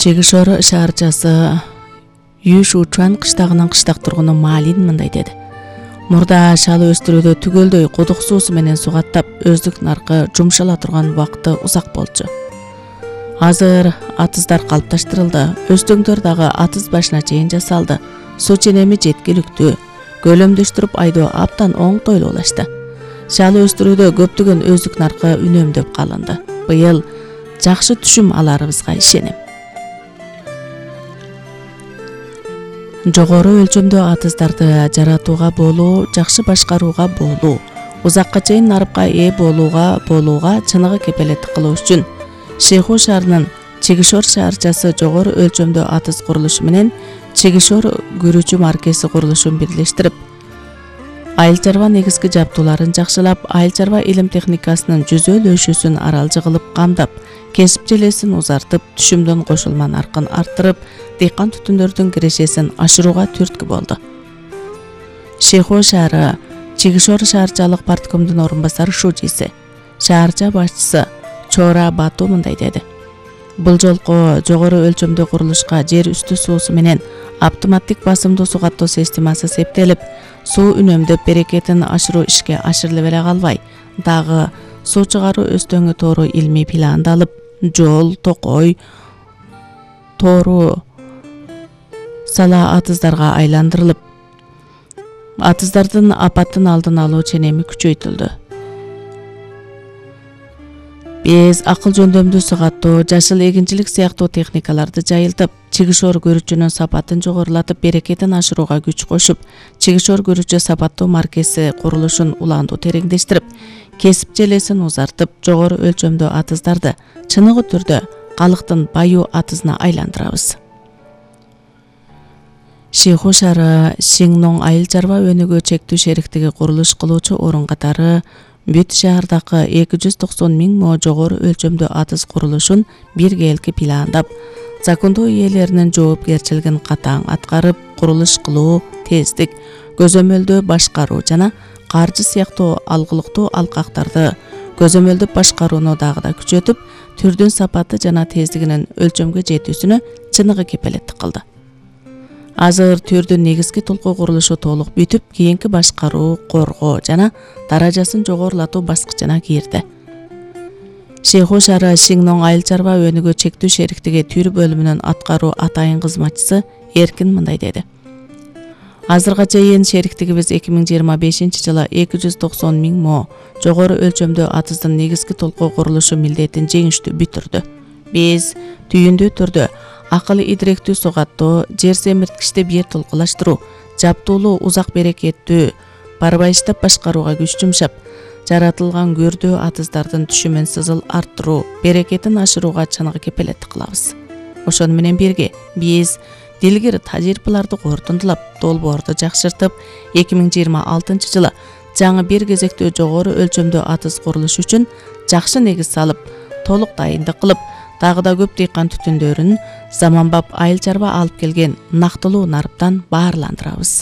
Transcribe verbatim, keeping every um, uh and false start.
Чегишор шаарчасы Юшучан кыштагынын кыштак тургуну Малин мындай деди. Мурда шалы өстүрүүдө түгөлдөй кудук суусу менен сугаттап, өздүк наркы жумшала турган убакыты узак болчу. Азыр атыздар калыпташтырылды, өстөңдөр дагы атыз башына чейин жасалды. Суу ченеми жеткиликтүү, көлөмдөштүрүп айдоо аптан оңтойлуулашты. Шалы өстүрүүдө көптөгөн өздүк наркы үнөмдөп калынды. Быйыл жакшы түшүм аларыбызга ишенем. Жогору өлчөмдө атыздарды жаратууга болуу, жакшы башкарууга болуу, узакка чейин нарыпка ээ болууга болууга чыныгы кепелеттик кылуу үчүн Шейху шаарынын Чегишор шаарчасы жогору өлчөмдө атыз курулушу менен Чегишор күрүчү маркеси курулушун бирлештирип, айыл чарба негизги жабдууларын жакшылап, айыл чарба илим техникасынын жүзөл өшүүсүн аралжы кылып камдап, кесип желесин узартып, түшүмдөн кошулма наркын арттырып, дыйкан түтүндөрдүн кирешесин ашырууга түрткү болду. Шейху шаары Чегишор шаарчалык парткомдун орун басары шужиси, шаарча башчысы Чора Бату мындай деди. Бул жолку жогору өлчөмдө курулушка жер үстү суусу менен автоматтик басымдуу суу каттоо системасы септелип, суу үнөмдөп берекетин ашыруу ишке ашырылып эле калбай, дагы суу чыгаруу өстөңү тоору илмий пландалып, жол, токой, тоору сала атыздарга айландырылып, атыздардын апаттын алдын алуу ченеми күчөйтүлдү. Без акыл жөндөмдүү суу каттоо, жашыл эгинчилик сыяктуу техникаларды жайылтып, Чегишор көрүчүнүн сапатын жогорулатып, берекетин ашырууга күч кошуп, Чегишор көрүчү сапаттуу маркеси курулушун улаандуу тереңдештирип, кесип желесин узартып, жогору өлчөмдүү атыздарды чыныгы түрдө калктын баюу атызына айландырабыз. Шейху шаары Сиңнон айыл чарба өнүгүү чектүү шериктиги курулуш кылуучу орун катары бүт шаардагы эки жүз токсон миң мо жогору өлчөмдүү атыз курулушун биргеликти пландап, закондуу ээлеринин жоопкерчилигин катаң аткарып, курулуш кылуу, тездик, көзөмөлдөө башкаруу жана каржы сыяктуу алгылыктуу алкактарды көзөмөлдөп башкарууну дагы да күчөтүп, түрдүн сапаты жана тездигинин өлчөмгө жетүүсүнө чыныгы кепелеттик кылды. Азыр түрдүн негизги толку курулушу толук бүтүп, кийинки башкаруу, коргоо жана даражасын жогорулатуу баскычына кирди. Шейху шаары Сиңнон айыл чарба өнүгүү чектүү шериктиги түр бөлүмүнүн аткаруу атайын кызматчысы Эркин мындай деди. Азырга чейин шериктигибиз эки миң жыйырма бешинчи жылы эки жүз токсон миң мо жогору өлчөмдүү атыздын негизги толку курулушу милдетин жеңиштүү бүтүрдү. Биз түйүндүү түрдө акыл идиректүү суу каттоо, жер семирткичти бир толкулаштыруу, жабдуулуу узак берекеттүү барбайыштап башкарууга күч жумшап, жаратылган көрдүү атыздардын түшүмүн сызыл арттыруу, берекетин ашырууга чыныгы кепелеттик кылабыз. Ошону менен бирге биз дилгир тажрыйбаларды кордундулап, долбоорду жакшыртып, эки миң жыйырма алтынчы жылы жаңы бир кезектүү жогору өлчөмдүү атыз курулуш үчүн жакшы негиз салып, толук дайындык кылып, дагы да көп дыйкан түтүндөрүн заманбап айыл чарба алып келген нактылуу нарыптан баарландырабыз.